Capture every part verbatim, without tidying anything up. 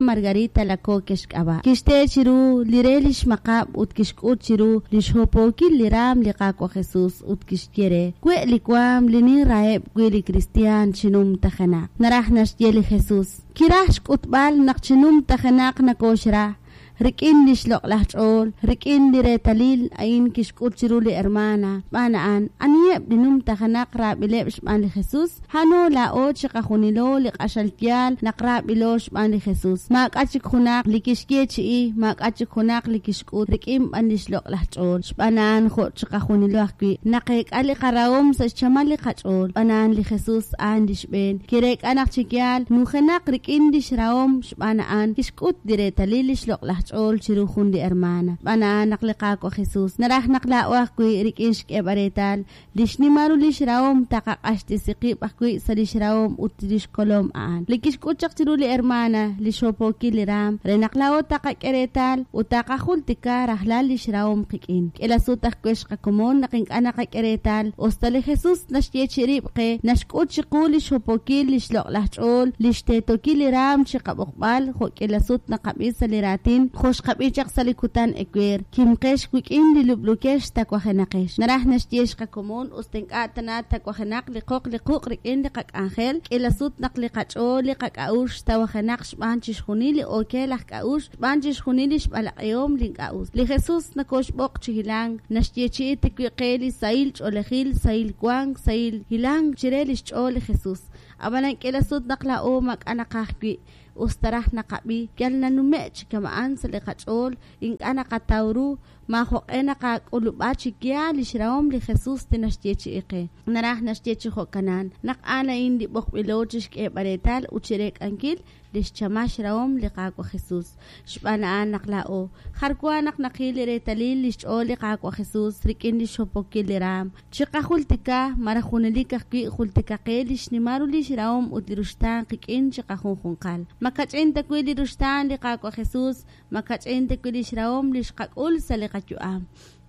Margarita Alacoque xk'ab'a'. Kixte chiru li re li xmaqab' ut kixk'ut chiru li xhopookil li raam li Qaawa' Jesus ut kixye re, We' li waam li ninraheb' wi' li kristiaan chi numtajenaq. Naraj naxye li Jesus. Kiraj xk'utb'al naq chi numtajenaq nakooxra rik'in lix loq'laj ch'ool, rik'in li reetalil a'in kixk'ut chiru li hermana. Xb'aan a'an, aniheb' li numtajenaq raab'ileb' xb'aan li Jesus? A'ano laa'o chiqajunilo li q'axal yaal naq raab'ilo xb'aan li Jesus. Maak'a' chik junaq li kixyeechi'i, maak'a' chik junaq li kixk'ut rik'in b'an lix loq'laj ch'ool. Xb'aan a'an jo' chiqajunilo ajwi' naqeek'a li qarahom sa' xchamal li qach'ool. Xb'aan a'an li Jesus a'an li xb'een. Kireek'a naq chi yaal nujenaq rik'in lix rahom xb'aan a'an kixk'ut li reetalil lix loq'laj ch'ool chiru jun li hermana. Xb'aan a'an naq li Qaawa' Jesus naraj naq laa'o ajwi' rik'in xk'eeb'al reetal li xnimal ru lix rahom taqaq'axtesi qib' ajwi' sa' lix rahom ut lix kolom a'an. Li kixk'ut chaq chiru li hermana li xhopookil li raam re naq laa'o taqak'e reetal ut taqajultika rajlal lix rahom qik'in. K'ila sut ajwi' xqakomon naq ink'a' naqak'e reetal usta li Jesus naxyeechi'i rib' qe naxk'ut chiqu li xhopookil lix loq'laj ch'ool lix teetokil li raam chiqab'oqb'al jo' k'ila sut naqab'i sa' li raatin jo' xqab'i chaq sa' li kutan ewer kimqex wik'in li lub'lukex tawajenaqex. Naraj naxye xqakomon usta ink'a' tana tawajenaq li qoq li quq' rik'in li qak'anjel k'ila sut naq li qach'ool li qak'a'uxl tawajenaq xb'aan chixjunil li okeel aj k'a'uxl xb'aan chixjunil li xb'alaq'ihom li ink'a' us. Li Jesus nakoxb'oq chi hilank naxyeechi'i tawi' qe li sahil ch'oolejil sahil wank sahil hilank chire lix ch'ool li Jesus. Ab'anan k'ila sut naq laa'o maak'a' naqaj wi' usta raj naqab'i yal nanume' chi kama'an sa' li qach'ool ink'a' naqataw ru maajoq'e naqak'ulub'a chi yaal lix rahom li Jesus li naxyeechi'i qe. Naraj naxye chi jo'kanan naq a'an a'in li b'oqb'ilo chixk'eeb'al reetal ut chireek'ankil lix chamal xrahom li Qaawa' Jesus. Xb'aan a'an naq laa'o jar wa naq naqil li reetalil lix ch'ool li Qaawa' Jesus rik'in lix hopokil li raam. Chiqajultika malaj junelik ajwi' jultika qe li xnimal ru lix rahom ut li ruxtaan qik'in chiqajunjunqal. Makach'in ta wi' li ruxtaan li Qaawa' Jesus, makach'in ta wi' lix rahom li xqak'ul sa' li qayu'am.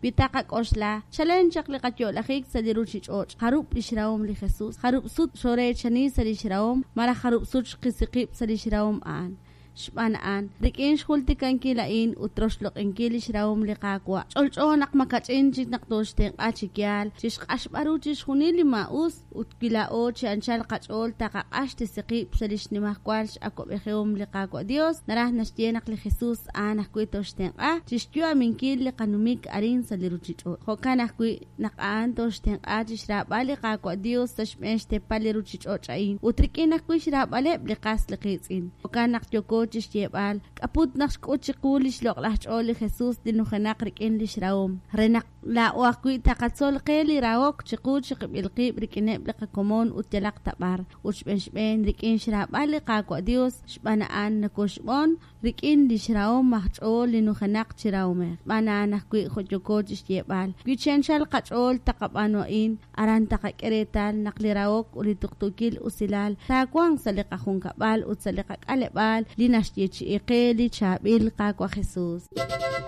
Wi taqak'oxla, chalen chaq li qayo'lajik sa' li ruchich'och', jarub' lix rahom li Jesus, jarub' sut xoreechani sa' lix rahom, malaj jarub' sut xqisi qib' sa' lix rahom a'an. Xb'aan a'an, rik'in xjultikankil a'in ut roxloq'inkil lix rahom li Qaawa'. Ch'olch'o naq makach'in chik naq tooxtenq'a chi yaal, chixq'axb'al ru chixjunil li maa'us ut wi laa'o chi anchal qach'ool taqaq'axtesi qib' sa' lix nimajwal x'awab'ejihom li Qaawa' Dios, naraj naxye naq li Jesus a'an ajwi' tooxtenq'a chixyu'aminkil li qanumik arin sa' li ruchich'och'. Jo'kan ajwi' naq a'an tooxtenq'a chixraab'al li Qaawa' Dios sa' xb'een xteepal li ruchich'och' a'in ut rik'in ajwi' xraab'aleb' li qas li qiitz'in. Jo'kan naq yooko chixyeeb'al k'aput naq xk'ut chiqu lix loq'laj ch'ool li Jesus li nujenaq rik'in lix rahom. Re naq laa'o ajwi' taqatzol qe li rahok chiqu chiqib'il qib' rik'ineb' li qakomon ut yalaq tab'ar. Ut xb'een xb'een rik'in xraab'al li Qaawa' Dios xb'aan a'an nakoxb'on rik'in lix rahom aj ch'ool li nujenaq chi rahomej. Xb'aan a'an ajwi' jo' yooko chixyeeb'al. Wi chi anchal qach'ool taqab'aanu a'in, aran taqak'e reetal naq li rahok ut li tuqtuukil usilal taawanq sa' li qajunkab'al ut sa' li qak'aleb'aal li naxyeechi'i qe li chaab'il Qaawa' Jesus.